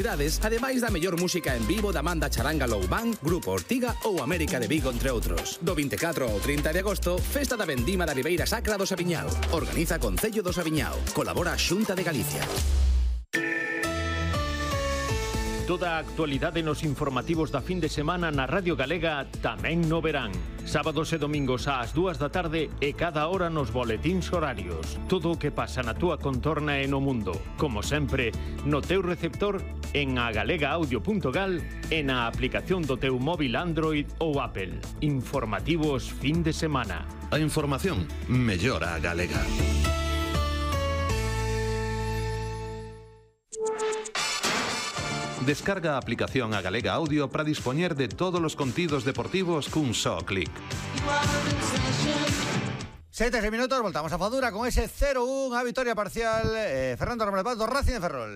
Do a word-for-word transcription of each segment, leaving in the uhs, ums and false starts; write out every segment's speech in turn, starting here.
Ademais da mellor música en vivo da banda Charanga Low Band, Grupo Ortiga ou América de Vigo, entre outros. Do vinte e catro ao trinta de agosto, Festa da Vendima da Ribeira Sacra do Saviñao. Organiza Concello do Saviñao. Colabora a Xunta de Galicia. Toda a actualidade nos informativos da fin de semana na Radio Galega tamén no verán. Sábados e domingos ás dúas da tarde e cada hora nos boletíns horarios. Todo o que pasa na túa contorna e no mundo. Como sempre, no teu receptor, en agalega audio punto gal e na aplicación do teu móvil Android ou Apple. Informativos fin de semana. A información mellora a galega. Descarga a aplicación a Galega Audio para dispoñer de todos os contidos deportivos cun só clic. Sete minutos, voltamos a Fadura con ese cero un a vitoria parcial. eh, Fernando Romero do Racing de Ferrol.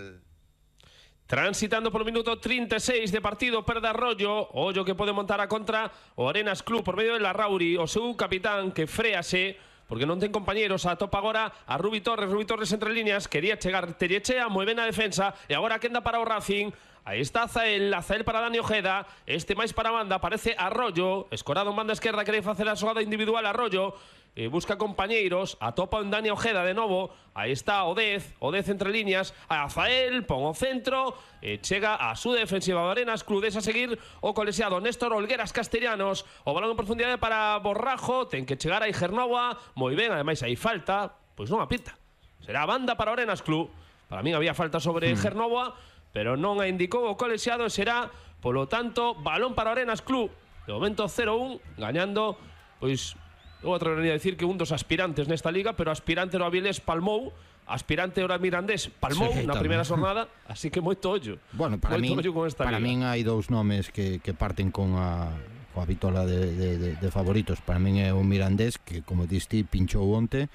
Transitando polo minuto trinta e seis de partido, perda Arroyo, ollo que pode montar a contra o Arenas Club por medio de Larrauri, o seu capitán que frease porque non ten compañeros. A topa agora a Rubi Torres, Rubi Torres entre líneas, quería chegar Tellechea, moi ben a defensa, e agora quenda para o Racing. Aí está Azael, Azael para Dani Ojeda, este máis para a banda, aparece Arroyo, escorado en banda esquerda, quere facer a xogada individual Arroyo, e busca compañeiros, atopa en Dani Ojeda de novo, aí está Odez, Odez entre líneas, a Azael, pon o centro, e chega a súa defensiva do Arenas Club, a seguir o colexiado Néstor Olgueras Castellanos, o balón en profundidade para Borrajo, ten que chegar a Igernova, moi ben, ademais hai falta, pois non apita, será a banda para o Arenas Club, para min había falta sobre hmm. Igernova, pero non a indicou o colexiado, será, polo tanto, balón para o Arenas Club, de momento cero un, gañando, pois, eu atrevería a decir que un dos aspirantes nesta liga, pero aspirante no Avilés palmou, aspirante ora Mirandés palmou sí, na primeira xornada, así que moito ollo. Bueno, para min, para min hai dous nomes que, que parten con a, con a vitola de, de, de, de favoritos. Para min é o Mirandés, que como diste, pinchou onte,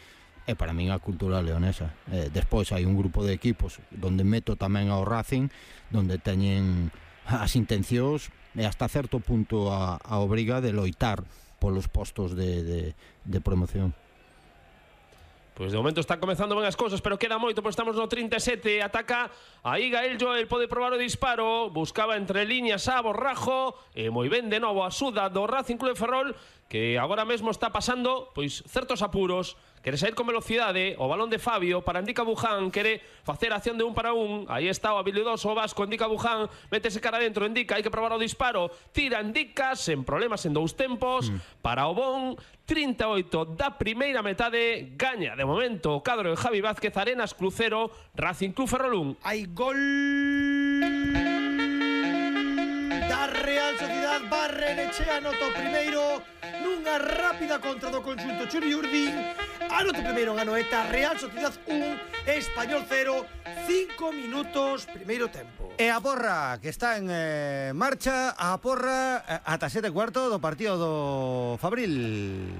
e para min a cultura leonesa. Eh, despois hai un grupo de equipos donde meto tamén ao Racing, donde teñen as intencións e hasta certo punto a, a obriga de loitar polos postos de, de, de promoción. Pois de momento están comezando ben as cousas, pero queda moito, pois estamos no trinta e sete, ataca aí Gael Joel, pode probar o disparo, buscaba entre líneas a Borrajo, e moi ben de novo a suda do Racing Club de Ferrol, que agora mesmo está pasando pois certos apuros, quere sair con velocidade, o balón de Fabio para Indica Buján, quere facer acción de un para un, aí está o habilidoso vasco Indica Buján, métese cara dentro, Indica, hai que probar o disparo, tira Indica, sen problemas en dous tempos, mm. para o bon, trinta e oito da primeira metade, gaña de momento o cadro de Javi Vázquez, Arenas Club cero, Racing Club Ferrol un. Hai gol da Real Sociedad, Barrenechea anota o primeiro nunha rápida contra do conxunto Churi Urdín. Anota o primeiro en Anoeta, Real Sociedad un, Español cero, cinco minutos, primeiro tempo. E a porra que está en eh, marcha, a porra eh, ata sete cuarto do partido do Fabril.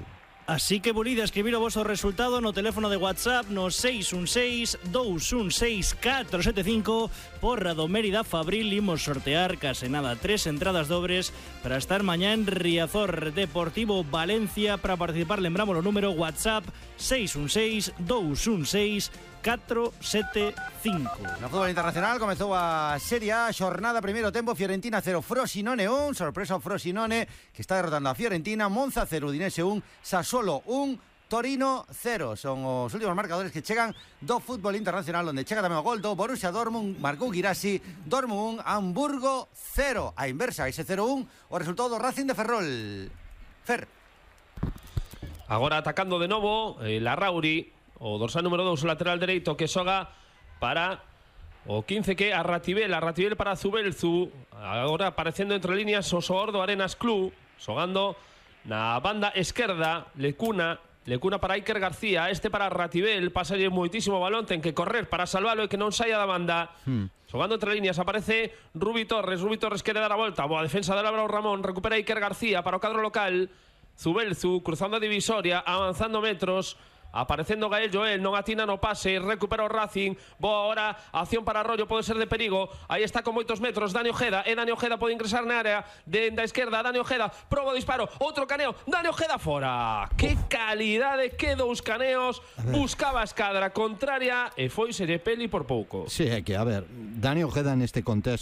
Así que volide a escribir o vosso resultado no teléfono de WhatsApp no seis un seis, dous un seis, catro sete cinco. Porra do Mérida Fabril, imos sortear case nada tres entradas dobres para estar mañá en Riazor Deportivo Valencia. Para participar lembramos o número WhatsApp seis un seis, dous un seis, catro sete cinco. No fútbol internacional comezou a Serie A, xornada primeiro tempo, Fiorentina cero, Frosinone un, sorpresa o Frosinone que está derrotando a Fiorentina, Monza cero, Udinese un, Sassuolo un, Torino cero. Son os últimos marcadores que chegan do fútbol internacional, onde chega tamén o gol do Borussia Dortmund, marcou Girassi, Dortmund un, Hamburgo cero. A inversa, ese cero un, o resultado do Racing de Ferrol. Fer. Agora atacando de novo, eh, Larrauri, o dorsal número dous, o lateral dereito que xoga para o quince, que a Ratibel, a Ratibel para Zubelzu, agora aparecendo entre líneas o xogador do Arenas Club, xogando na banda esquerda, Lecuna, Lecuna para Iker García, este para Ratibel, pasalle moitísimo balón, ten que correr para salvalo e que non saia da banda. Hmm. Xogando entre líneas aparece Rubi Torres, Rubi Torres quere dar a volta, boa defensa de Álvaro Ramón, recupera Iker García para o cadro local, Zubelzu cruzando a divisoria, avanzando metros, aparecendo Gael Joel, non atina no pase, recupera o Racing, boa ahora, acción para Arroyo, pode ser de perigo, aí está con moitos metros, Dani Ojeda, e Dani Ojeda pode ingresar na área, de da esquerda, Dani Ojeda, proba o disparo, outro caneo, Dani Ojeda fora, que calidade, que dous caneos, buscaba a escadra contraria, e foi de peli por pouco. Sí, é que, a ver, Dani Ojeda neste contexto